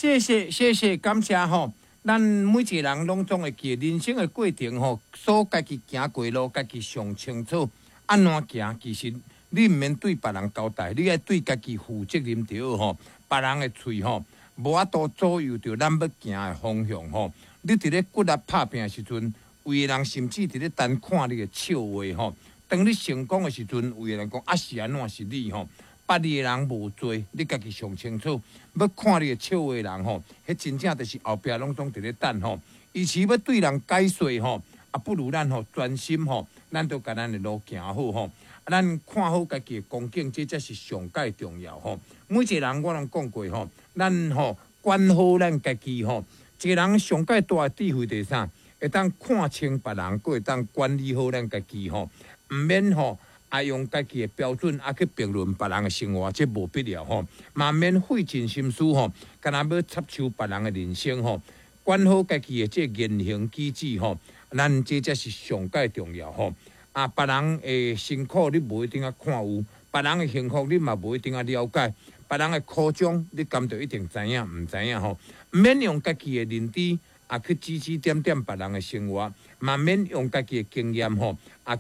謝謝謝謝，感謝吼。咱每一個人攏總會記人生的過程吼，所家己行過路，家己上清楚。按怎行，其實你毋免對別人交代，你愛對家己負責任著好吼。別人的喙吼，無法度左右著咱欲行的方向吼。你佇咧骨力拍拚的時陣，有的人甚至佇咧等看你的笑話吼。當你成功的時陣，有的人講啊是按怎是你吼。捌你的人無濟，你家己上清楚。欲看你的笑話的人吼，彼真正就是後壁攏總佇咧等吼。與其欲對人解說吼，啊不如咱吼專心吼，咱都共咱的路行好吼。咱看好家己的光景，這才是上蓋重要吼。每一個人我攏講過吼，咱吼管好咱家己吼。一個人上蓋大的智慧就是啥？會當看清別人，閣會當管理好咱家己吼，毋免吼。啊，用家己的標準啊去評論別人的生活，這無必要吼。嘛免費盡心思吼，敢若欲插手別人的人生吼。管好家己的這個言行舉止吼，咱這才是上蓋重要吼。啊，別人的辛苦你無一定愛看有，別人的幸福你嘛無一定愛了解，別人的苦衷你敢就一定知影毋知影吼？毋免用家己的認知啊去指指點點別人的生活，嘛免用家己的經驗吼啊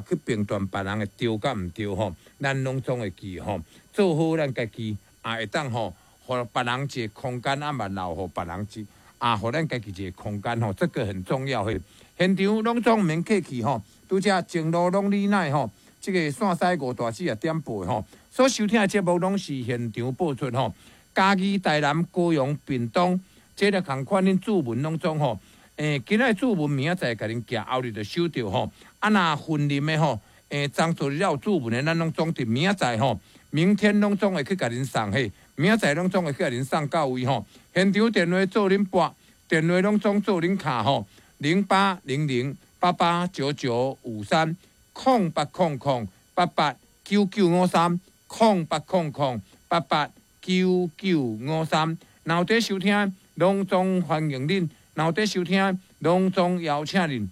去評斷別人的對佮毋對吼，咱攏總會記吼，做好咱家己啊，會當吼，予別人一個空間，啊嘛留予別人一啊，予咱家己一個空間吼，這個很重要嘿。現場攏總毋免客氣吼，拄才前路攏你奈吼，這個線西吳大姊也點播吼，所收聽的節目攏是現場播出吼，嘉義、台南、高雄、屏東，這個仝款恁注文攏總吼。今仔注文明仔載共恁寄，後日就收著吼。啊，若雲林的吼，昨晡日有注文的，咱攏總佇明仔載吼，明天攏總會去共恁送嘿，明仔載攏總會去共恁送到位吼。現場電話做恁撥，電話攏總做恁敲吼，0800889953，0800889953，0800889953。若有佇收聽，攏總歡迎恁。若有佇收聽，攏總邀請恁。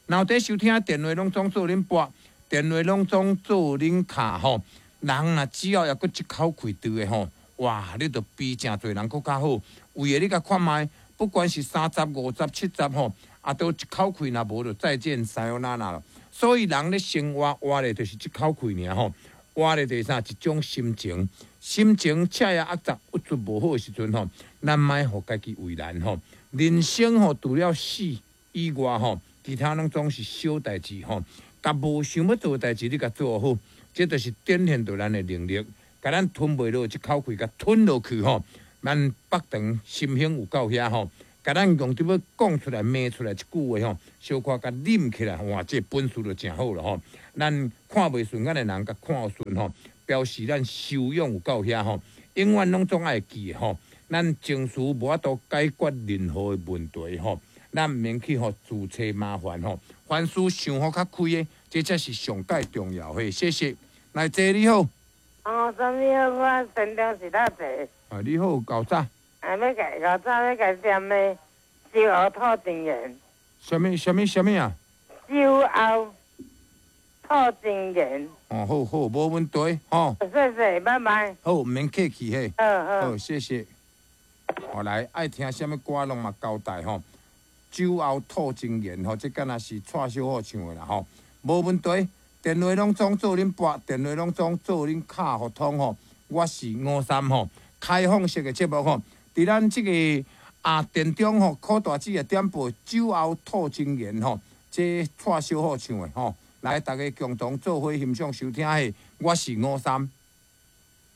若有佇收聽，電話攏總做恁撥，電話攏總做恁敲吼。人若只要抑閣這口氣佇的吼，哇！你就比誠濟人閣較好。為的你共看覓，不管是30、50、70吼，啊，都一口氣若無就再見さよなら了。所以人咧生活活的就是這口氣爾吼，活的就是啥？一種心情。心情赤也壓雜，鬱卒無好的時陣吼，咱莫予家己為難吼。人生吼，除了死以外吼，其他攏總是小代誌吼。共無想欲做的代誌，你共做好，這就是展現著咱的能力。共咱吞袂落這口氣，共吞落去吼，咱腹腸心胸有夠遐吼。共咱用得欲講出來、罵出來一句話吼，小可共忍起來，哇，這本事就誠好了吼。咱看袂順眼的人，共看順吼，表示咱修養有夠遐吼，永遠攏總愛記吼，咱情緒無法度解決任何的問題吼，咱毋免去予自揣麻煩吼，凡事想予較開的，這才是上蓋重要的。謝謝，來坐你好。哦，啥物好？我新竹是哪坐？啊，你好，厚早。啊，欲共厚早欲共點的酒後吐真言。啥物啥物啥物啊？酒後吐真言。哦，好好，無問題，吼。謝謝，拜拜。好，毋免客氣嘿。好好。好，謝謝。好來，愛聽啥物歌攏嘛交代吼。酒後吐真言吼，這敢若是蔡小虎唱的啦吼。無問題，電話攏總做恁撥，電話攏總做恁敲予通吼。我是吳三吼，開放式的節目吼。佇咱這個啊電中吼，柯大姊的點播酒後吐真言吼，這蔡小虎唱的吼。來，大家共同做伙欣賞收聽的，我是吳三。